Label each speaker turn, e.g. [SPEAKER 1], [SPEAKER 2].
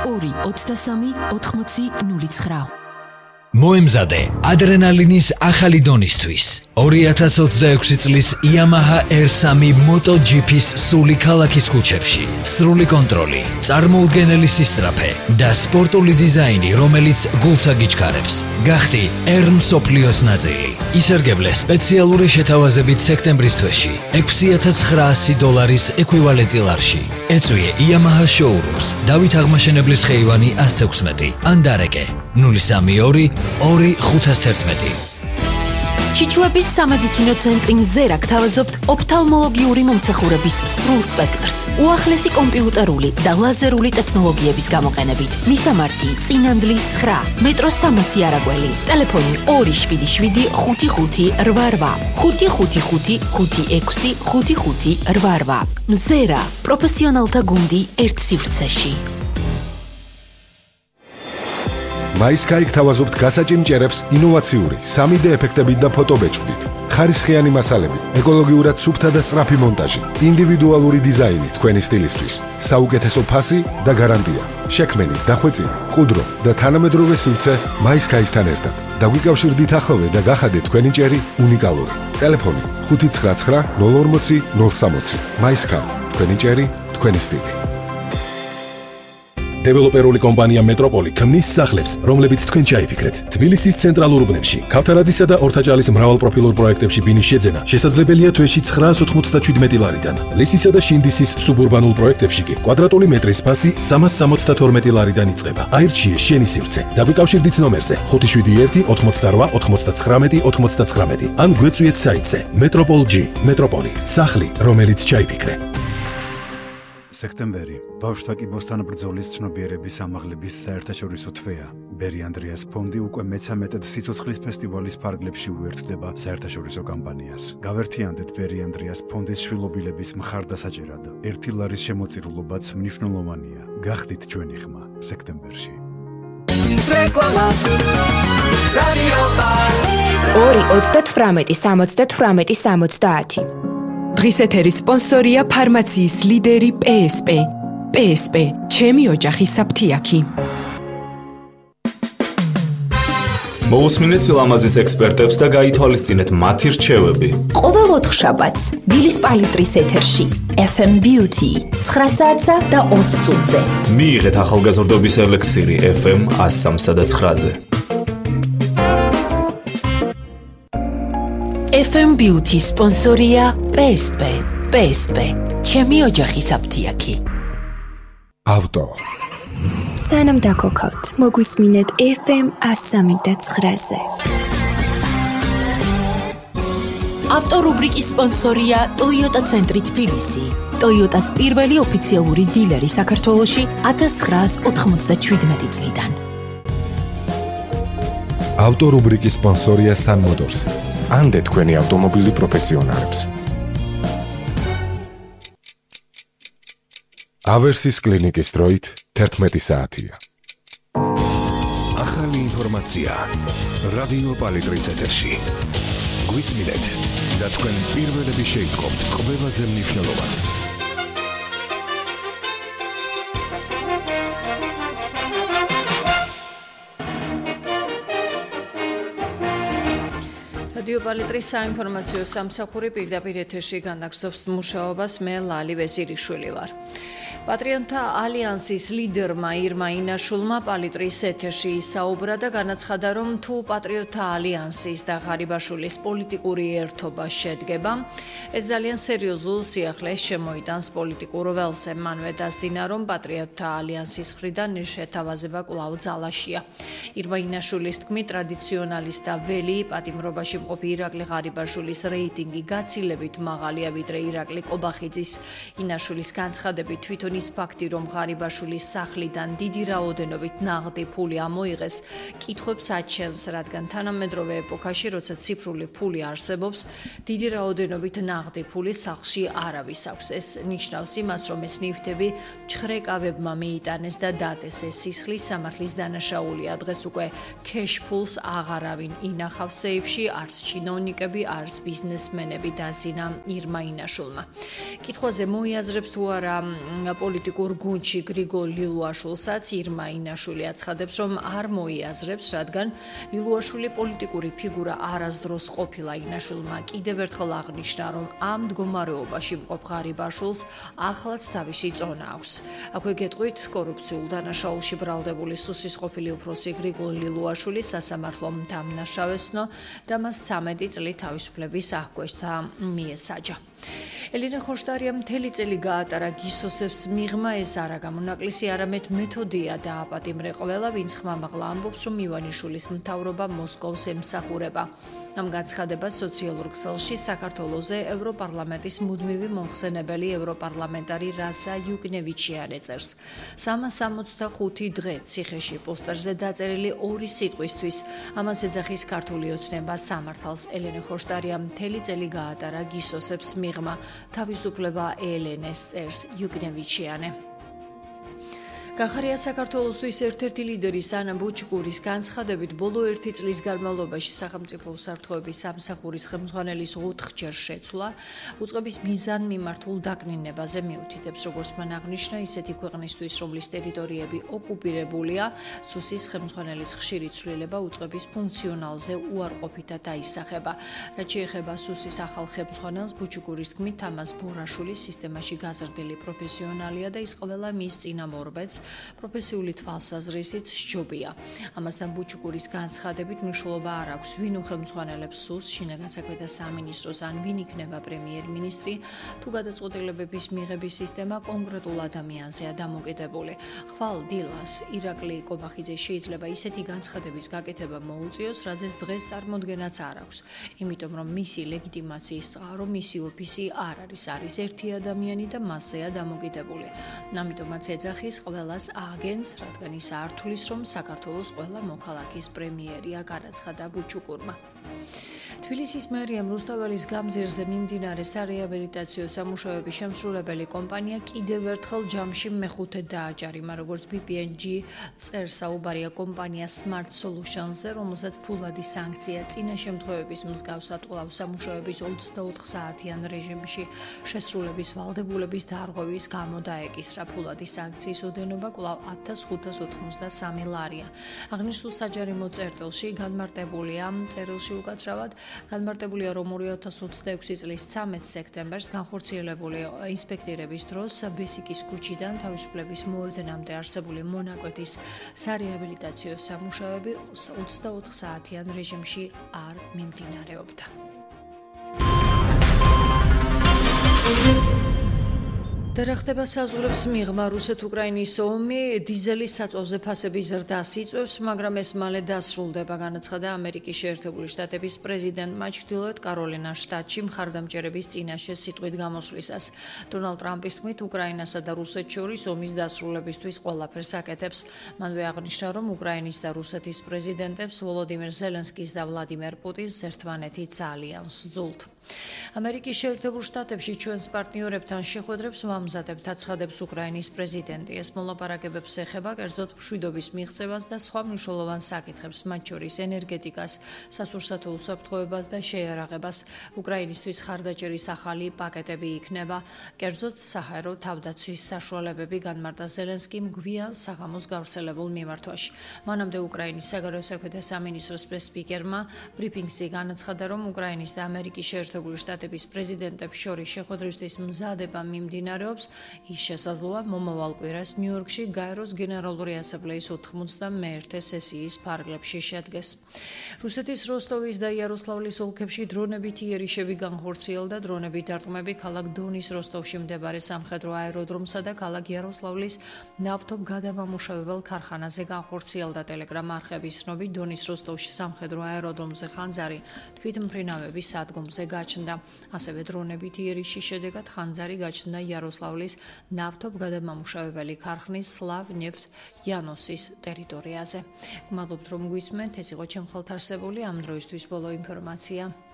[SPEAKER 1] 223-80-09.
[SPEAKER 2] მოემზადე ადრენალინის ახალი დონისთვის 2026 წლის Yamaha R3 MotoGP-ს სული ქალაქის ქუჩებში. სრული კონტროლი, წარმოუდგენელი სისწრაფე და სპორტული დიზაინი, რომელიც გულს აგიჩქარებს. გახდი R მსოფლიოს ნაწილი. ისარგებლე სპეციალური შეთავაზებით სექტემბრის თვეში $6,900 ეკვივალენტი ლარში. ეწვიე Yamaha showrooms, დავით აღმაშენებლის ხეივანი 116 ან დარეკე 032-2511.
[SPEAKER 1] ჩიჩუების სამედიცინო ცენტრი მზერა გთავაზობთ ოფთალმოლოგიური მომსახურების სრულ სპექტრს, უახლესი კომპიუტერული და ლაზერული ტექნოლოგიების გამოყენებით. მისამართი: წინანდლის 9, მეტროს 300 არაგველი, ტელეფონი 277-55-88, 555-56-55-88. მზერა, პროფესიონალთა გუნდი ერთ სივრცეში.
[SPEAKER 3] MySky გთავაზობთ გასაჭიმჭერებს ინოვაციური 3D ეფექტებით და ფოტობეჭდით. ხარისხიანი მასალები, ეკოლოგიურად სუფთა და სწრაფი მონტაჟი, ინდივიდუალური დიზაინი თქვენი სტილისთვის, საუკეთესო ფასი და გარანტია. შექმენი, დახვეწილი, ყუდრო და თანამედროვე სივრცე MySky-სთან ერთად. დაგვიკავშირდით ახლოვე და გახადეთ თქვენი ჭერი უნიკალური. ტელეფონი 599 040 060. MySky, თქვენი ჭერი, თქვენი სტილი.
[SPEAKER 4] დეველოპერული კომპანია მეტროპოლი ქმნის სახლებს, რომლებიც თქვენ ჩაიფიქრეთ. თბილისის ცენტრალურ უბნებში, ქავთარაძისა და ორთაჭალის მრავალპროფილურ პროექტებში ბინის შეძენა შესაძლებელია თვეში 997 ლარიდან. ლისისა და შინდისის სუბურბანულ პროექტებში კი კვადრატული მეტრის ფასი 372 ლარიდან იწყება. აირჩიე შენი სივრცე. დაგვიკავშირდით ნომერზე 571 88 99 99 ან გვეწვიეთ საიტზე Metropol.G. მეტროპოლი, სახლი, რომელიც ჩაიფიქრე.
[SPEAKER 5] სექტემბერი ბავშვთა კიბოსთან ბრძოლის ცნობიერების ამაღლების საერთაშორისო თვეა. ბერი ანდრეას ფონდი უკვე მე-13 სიცოცხლის ფესტივალის ფარგლებში უერთდება საერთაშორისო კამპანიას. გავერთიანდეთ ბერი ანდრეას ფონდის შვილობილების მხარდასაჭერად. 1 ლარის შემოწირულობაც მნიშვნელოვანია. გახდით ჩვენი ხმა სექტემბერში.
[SPEAKER 1] 2-38-78-70.
[SPEAKER 6] დღის ეთერის სპონსორია ფარმაციის ლიდერი PSP. PSP, ჩემი ოჯახი საფთიაქი.
[SPEAKER 7] მოусმინეთ სილამაზის ექსპერტებს და გაითვალისწინეთ მათი რჩევები.
[SPEAKER 1] ყოველ 4 შაბათს დილის პალიტრის ეთერში FM Beauty 9 საათსა და 20 წუთზე.
[SPEAKER 7] მიიღეთ ახალგაზრდობის ელექსირი FM 103 და 9-ზე.
[SPEAKER 1] FM Beauty სპონსორია PSP. PSP, ჩემი ოჯახი საფთიაქი.
[SPEAKER 3] ავტო.
[SPEAKER 8] სანამ დაგოქავთ, მოგვისმინეთ FM 103 და 9-ზე.
[SPEAKER 1] ავტორუბრიკის სპონსორია Toyota ცენტრი თბილისი. Toyota-ს პირველი ოფიციალური დილერი საქართველოში 1997 წლიდან.
[SPEAKER 3] ავტორუბრიკის სპონსორია Sun Motors. ანდე თქვენი ავტომობილი პროფესიონალებს. ავერსის კლინიკის დროით 11 საათია.
[SPEAKER 4] ახალი ინფორმაცია რადიო პალიტრის ეთერში. გვისმინეთ და თქვენ პირველები შეიტყობთ ყველაზე მნიშვნელოვანს.
[SPEAKER 9] რადიო პალიტრის საინფორმაციო სამსახური პირდაპირ ეთერში განაგრძობს მუშაობას. მე ლალი ვეზირიშვილი ვარ. პატრიოტთა ალიანსის ლიდერმა ირმა ინაშულმა პალიტრის ეთერში ისაუბრა და განაცხადა, რომ თუ პატრიოტთა ალიანსის და ღარიბაშვილის პოლიტიკური ერთობა შედგება, ეს ძალიან სერიოზულ სიახლეს შემოიტანს პოლიტიკურ ველზე. მანვე დასძინა, რომ პატრიოტთა ალიანსის მხრიდან შეთავაზება კვლავ ძალაშია. ირმა ინაშულის თქმით, ტრადიციონალის და ველი პატიმრობაში მყოფი ირაკლი ღარიბაშვილის რეიტინგი გაცილებით მაღალია, ვიდრე ირაკლი კობახიძის. ინაშულის განცხადებით თვითონ ის ფაქტი, რომ ღარიბაშვილის სახლიდან დიდი რაოდენობით ნაღდი ფული ამოიღეს, კითხვებს აჩენს, რადგან თანამედროვე ეპოქაში, როცა ციფრული ფული არსებობს, დიდი რაოდენობით ნაღდი ფული სახლში არავის აქვს. ეს ნიშნავს იმას, რომ ეს ნივთები ჩხრეკავებმა მიიტანეს და დადეს. ეს სისხლის სამართლის დანაშაულია. დღეს უკვე cash pools აღარავინ ინახავს სეიფში, არც ჩინოვნიკები, არც ბიზნესმენები, დასძინა ირმა ინაშულმა. კითხვაზე მოიაზრებს თუ არა პოლიტიკურ გუნდში გრიგოლ ლილუაშვილსაც ირმა ინაშვილი აცხადებს, რომ არ მოიაზრებს, რადგან ლილუაშვილი პოლიტიკური ფიგურა არასდროს ყოფილა. ინაშვილმა კიდევ ერთხელ აღნიშნა, რომ ამ მდგომარეობაში მყოფ ღარიბაშვილს ახლაც თავისი წონა აქვს. აქვე გეტყვით, კორუფციულ დანაშაულში ბრალდებული სუსის ყოფილი უფროსი გრიგოლ ლილუაშვილი სასამართლომ დამნაშავესნო და მას 13 წელი თავისუფლების აღკვეთა მიესაჯა. ელენე ხოშტარიამ მთელი წელი გაატარა გისოსებს მიღმა, ეს არა გამონაკლისი, არამედ მეთოდია დააპატიმრე ყველა, ვინც ხმამაღლა ამბობს, რომ ივანიშვილის მთავრობა მოსკოვს ემსახურება. ამ განცხადებას სოციალურ ქსელში საქართველოზე ევროპარლამენტის მუდმივი მომხსენებელი ევროპარლამენტარი რასა იუკნევიჩიანი წერს. 365 დღე ციხეში პოსტერზე დაწერილი 2 სიტყვისთვის ამას ეძახის ქართული ოცნება სამართალს. ელენე ხოშტარიამ მთელი წელი გაატარა გისოსებს მიღმა, თავისუფლება ელენეს წერს იუკნევიჩიანი. გახარია საქართველოსთვის ერთ-ერთი ლიდერი სანა ბუჩკურის განცხადებით, ბოლო 1 წლის განმავლობაში სახელმწიფო უსაფრთხოების სამსახურის ხელმძღვანელის 4-ჯერ შეცვლა უწყების მიზანმიმართულ დაკნინებაზე მიუთითებს, როგორც მან აღნიშნა, ისეთი ქვეყნისთვის, რომლის ტერიტორიები ოკუპირებულია, სუსის ხელმძღვანელის ხშირი ცვლილება უწყების ფუნქციონალზე უარყოფითად აისახება. რაც შეეხება სუსის ახალ ხელმძღვანელს, ბუჩკურის თქმით, თამაზ ბორაშვილის სისტემაში გაზრდილი პროფესიონალია და ის ყველა მის წინამორბედს პროფესიული თვალსაზრისით სჯობია. ამასთან ბუჩკურის განცხადებით მნიშვნელობა არ აქვს, ვინ უხელმძღვანელებს სუს, შინაგან საქმეთა სამინისტროს ან ვინ იქნება პრემიერ-მინისტრი, თუ გადაწყვეტილებების მიღების სისტემა კონკრეტულ ადამიანზეა დამოკიდებული. ხვალ დილას ირაკლი კობახიძე შეიძლება ისეთი განცხადების გაკეთება მოუწიოს, რაზეც დღეს წარმოდგენაც არ აქვს. იმიტომ რომ მისი ლეგიტიმაციის წყარო, მისი ოფისი არ არის ერთი ადამიანი და მასზეა დამოკიდებული. ამიტომაც ეძახის ყველას ააგენს, რადგან ის არ თulis, რომ საქართველოს ყველა მოქალაქის პრემიერია, განაცხადა ბუჩუკურმა. თბილისის მერიამ რუსთაველის გამზირზე მიმდინარე სარეაბილიტაციო სამუშაოების შემსრულებელი კომპანია კიდევ ერთხელ ჯამში მეხუთე დააჯარიმა, როგორც BPNG წერს საუბარია კომპანია Smart Solutions-ზე, რომელსაც ფულადი სანქცია წინა შემთხვევების მსგავსად კვლავ სამუშაოების 24 საათიან რეჟიმში შესრულების ვალდებულების დარღვევის გამო დაეკისრა. ფულადი სანქციის ოდენობა კვლავ 1593 ლარია. აღნიშნულ საჯარიმო წერტილში განმარტებულია წერილში უკაცრავად განმარტებულია, რომ 2026 წლის 13 სექტემბერს განხორციელებული ინსპექტირების დროს ბესიკის ქუჩიდან თავისუფლების მოედნამდე არსებული მონაკვეთის სარეაბილიტაციო სამუშაოები 24 საათიან რეჟიმში არ მიმდინარეობდა. და ხდება საზღვრებს მიღმა რუსეთ-უკრაინის ომი დიზელის საწვავზე ფასების ზრდას იწვევს, მაგრამ ეს მალე დასრულდება, განაცხადა ამერიკის შეერთებული შტატების პრეზიდენტმა ჩრდილოეთ კაროლინას შტატში მხარდამჭერების წინაშე სიტყვით გამოსვლისას. დონალდ ტრამპის თქმით, უკრაინასა და რუსეთს შორის ომის დასრულებისთვის ყველაფერს აკეთებს. მანვე აღნიშნა, რომ უკრაინის და რუსეთის პრეზიდენტებს ვოლოდიმირ ზელენსკის და ვლადიმერ პუტინს ერთმანეთი ძალიან სძულთ. ამერიკის შეერთებულ შტატებში ჩვენს პარტნიორებთან შეხვედრებს ვამზადებთ, აცხადებს უკრაინის პრეზიდენტი. ეს მოლაპარაკებებს ეხება კერძოდ მშვიდობის მიღწევას და სხვა მნიშვნელოვან საკითხებს, მათ შორის ენერგეტიკას, სასურსათო უსაფრთხოებას და შეიარაღებას. უკრაინისთვის ხარდაჭერის ახალი პაკეტები იქნება, კერძოდ საჰაერო თავდაცვის საშუალებები, განმარტა ზელენსკიმ გვიან საღამოს გავრცელებულ მიმართვაში. მანამდე უკრაინის საგარეო საქმეთა სამინისტროს პრეს-სპიკერმა ბრიფინგში განაცხადა, რომ უკრაინის და ამერიკის შეერთებული შტატების პრეზიდენტებს შორის შეხვედრისთვის მზადება მიმდინარეობს. ის შესაძლოა მომავალ კვირას ნიუ-იორკში გაეროს გენერალური ასამბლეის 91 სესიის ფარგლებში შედგეს. რუსეთის როსტოვის და იაროსლავლის ოლქებში დრონებით იერიშები განხორციელდა. დრონებით დარტყმები ქალაქ დონის როსტოვში მდებარე სამხედრო აეროდრომსა და ქალაქ იაროსლავლის ნავთობგადამამუშავებელ ქარხანაზე განხორციელდა. ტელეგრამ არხების ცნობით, დონის როსტოვში სამხედრო აეროდრომზე ხანძარი თვითმფრინავების სადგომზე გაჩნდა. ასევე დრონებით იერიშის შედეგად ხანძარი გაჩნდა იაროსლავლის ნავთობგადამამუშავებელი ქარხნის სლავნეფტ იანოსის ტერიტორიაზე. გმადლობთ, რომ გვისმენთ, ეს იყო ჩემ ხელთ არსებული ამ დროისთვის ბოლო ინფორმაცია.